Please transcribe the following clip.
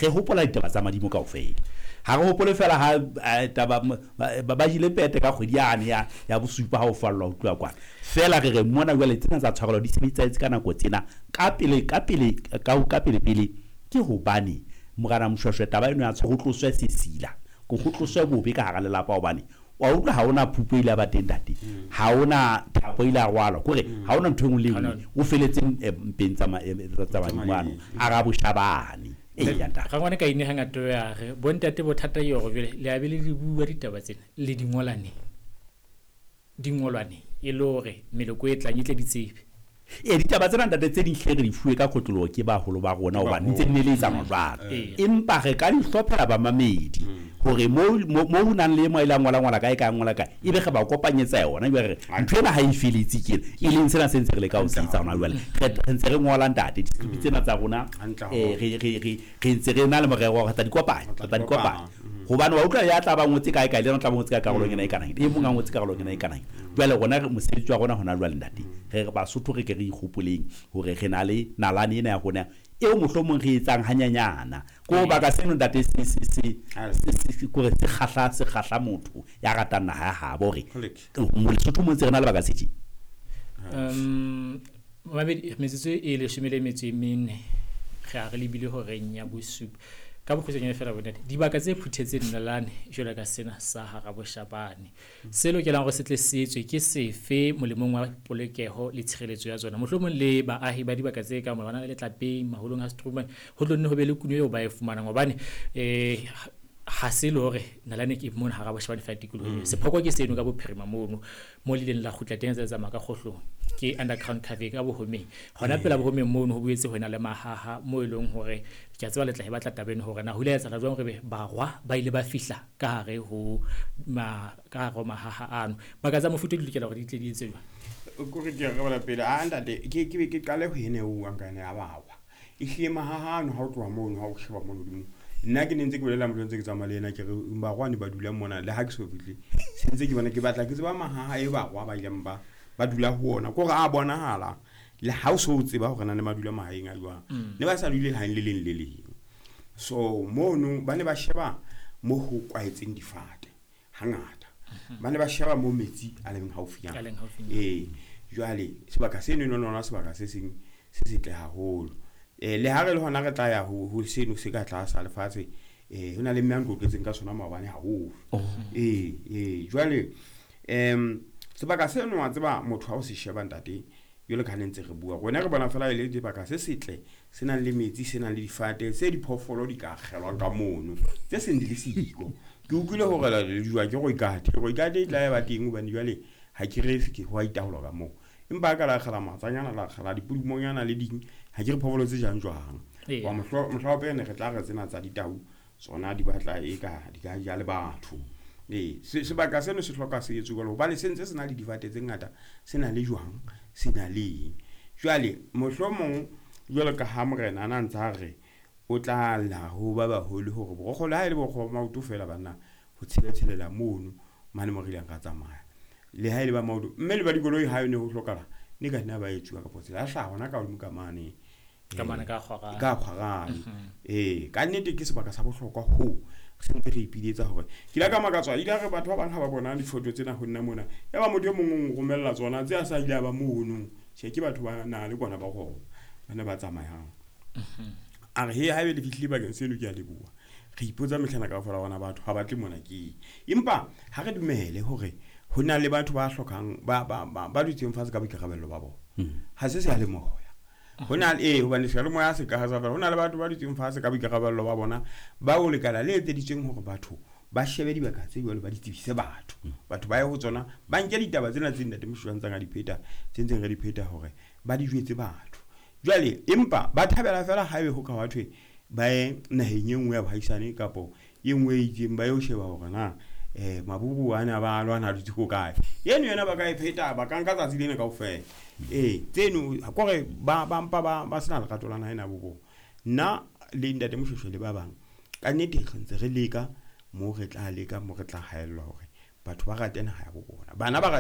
Re hopola ditaba tsa madimo kaofela. Ha re hopole fela ha taba ba jile pete ka kgwedi yane ya bosupa ha o fallwa ho tloha kwana. Fela re re mona jwale tsena tsa tshwarelo di sebedisetse ka nako tsena ka pele ka pele ka pele pele ke hobane Morena Moshoeshoe taba eno ya ho tloswe sesila, ko ho tloswe bobe ka hara lelapa hobane wa utlwa ha ona phupo ile ba teng ntate. Ha ona thapo ile a rwalwa kore ha ona ntho e nngwe le nngwe o feletseng mpeng tsa madimo ano a ra boshabane. Rangwane ka ine hangata ya re bontate bothata ke hore jwale le a be le di bua ditaba tsena le di ngolane, di ngolwane e le hore meloko e tlang e tle di tsebe. E ditaba tsena ntate tse ding hle re di fuwe ka kotloloho ke baholo ba rona hobane ntse di neletsana jwalo. Empa re ka di hlophela bamamedi hore mo ho nang le mo ile a ngola ngola kae ka ngola kae ebe re ba kopanyetsa yona jwale re ntho ena ha e feletse ke e leng sena se ntse re le ka ho se etsa hona jwale. Re ntse re ngola ntate di-script tsena tsa rona, re ntse re na le morero wa re tla di kopanya, re tla di kopanya. Hobane wa utlwa ya tla ba ngotse kae kae le yena o tla ba ngotse ka karolong ena e kanang, e mong a ngotse karolong ena e kanang. Jwale rona mosebetsi wa rona hona jwale ntate, re re Basotho re ke re ikgopoleng hore re na le nalane ena ya rona eo mohlomong re etsang hanyanyana. Ko baka seno ntate se se se se kore se kgahla, se kgahla motho ya ratang naha ya habo hore Lesotho mo ntse re na le baka se tje. Mabedi metsotso e 14 re a re lebile horeng ya bosupa. Ka bokgutshwanyane fela bontate, dibaka tse phuthetseng nalane jwalo ka sena sa hara boshabane se lokelang hore se tle se etswe ke sefe molemong wa polokeho le tshireletso ya tsona? Mohlomong le baahi ba dibaka tse kang Molwana le Letlapeng, maholong a Struman, ho tlo nne ho be le kuno eo ba e fumanang hobane ha se le hore nalane ke mona hara boshabane fela tikolohong. Sephoko ke seno ka bophirima mono mo le ileng la kgutla teng tsa tsamaya ka kgohlong ke underground cave ka bohomeng. Hona pela bohomeng mono ho boetse ho ena le mahaha mo e leng hore ke a tseba le tla e batla taba eno hore na ho ile ha etsahala jwang hore barwa ba ile ba fihla ka hare ho ka hare ho mahaha ano. Baka tsa mofuta di lokela hore di tle di etse jwang? Kore ke re bala pele a ntate ke be ke qale ho ene o buang ka ene ya barwa. Ehlile mahaha ano ha o tloha mono ha o sheba mono hodimo. Nna ke ne ntse ke bolela motho ntse ke tsamaya le yena ke re barwa ne ba dula mona le ha ke so fihle. Se ntse ke bona ke batla ke tseba mahaha e barwa ba ileng ba dula ho ona. Ke hore a bonahala le ha o so o tseba hore na ne ba dula mahaeng a jwang. Ne ba sa dule lehaeng le leng le leng. So mono ba ne ba sheba mo ho kwaetseng difate hangata. Ba ne ba sheba mo metsi a leng haufinyana. A leng haufinyana. Jwale sebaka seno e lona sebaka se seng se setle haholo. Le ha re le hona re tla ya ho seno se ka tlasa lefatshe, ho na le mme a nkotletseng ka sona maobane haholo. Jwale, sebaka seno wa tseba motho ha o se sheba ntate, jwalo ka ha ne ntse re bua, rona re bona fela e le sebaka se setle, se nang le metsi, se nang le difate, se diphoofolo di ka akgelwang ka mono, tse seng di le siko. Ke utlwile hore le jwa ke Rooikate. Rooikate e tla ba teng hobane jwale ha ke re ke ho a itaolwa ka moo. Empa ka la akgela matsanyana, la akgela dipudumonyana le ding, ha ke re phoofolo tse jang jwang. Wa mohla wa pele re tla re tsena tsa ditau, tsona di batla e ka di ka ja le batho. Sebaka seno se hloka se etswe jwalo hobane se ntse se na le difate tse ngata, se na le jwang, se na le eng. Jwale mohlomong jwalo ka ha morena a na ntse a re o tla lla ho ba baholo hore borokgo le ha e le borokgo ba maoto fela banna ho tshela-tshelela mono mane mo re ileng ra tsamaya. Le ha e le ba maoto, mme le ba dikoloi ha e ne ho hlokahala, ne ka nna ba etsuwa kapo tsela ya hlaha hona ka hodimo ka mane. Ka mane ka Kgwarane. Ka Kgwarane. Ka nnete ke sebaka sa bohlokwa ho se ntse re ipiletsa hore ke ile ka makatswa, ile re batho ba bang ha ba bona difoto tsena ho nna mona, ya ba motho e mong o nromella tsona tse a sa ile a ba mono. Tjhe, ke batho ba na le kwana ba rona, ba ne ba tsamayang. A re, he, haebe le fihlile bakeng seno ke a leboha. Re ipotsa mehlana kaofela hore na batho ha ba tle mona ke eng. Empa ha re dumele hore ho na le batho ba hlokang, ba dutseng fatshe ka boikarabello ba bona. Ha se seyalemoya. Ho na le, hobane seyalemoya se ka ha sa fela. Ho na le batho ba dutseng fatshe ka boikarabello ba bona, ba o lekala le etseditsweng hore batho ba shebe dibaka tse jwalo, ba di tsebise batho. Batho ba ye ho tsona, ba nke ditaba tsena tse ntate Moshoeshoe a ntseng a di pheta, tse ntseng re di pheta hore ba di jwetse batho. Jwale, empa ba thabela fela haebe ho ka wa thwe ba ye naheng e nngwe ya bohaisane kapo e nngwe e itseng, ba yo sheba hore na, maburu a ne a ba lwana a dutse ho kae. Eno yona ba ka e pheta, ba ka nka tsatsi lena kaofela. Tseno, kore ba mpa ba sena lerato la naha ena bo bona. Nna le ntate Moshoeshoe le ba bang, ka nnete re ntse re leka mo re tla leka, mo re tla haellwa hore batho ba rate naha ya bo bona. Bana ba rate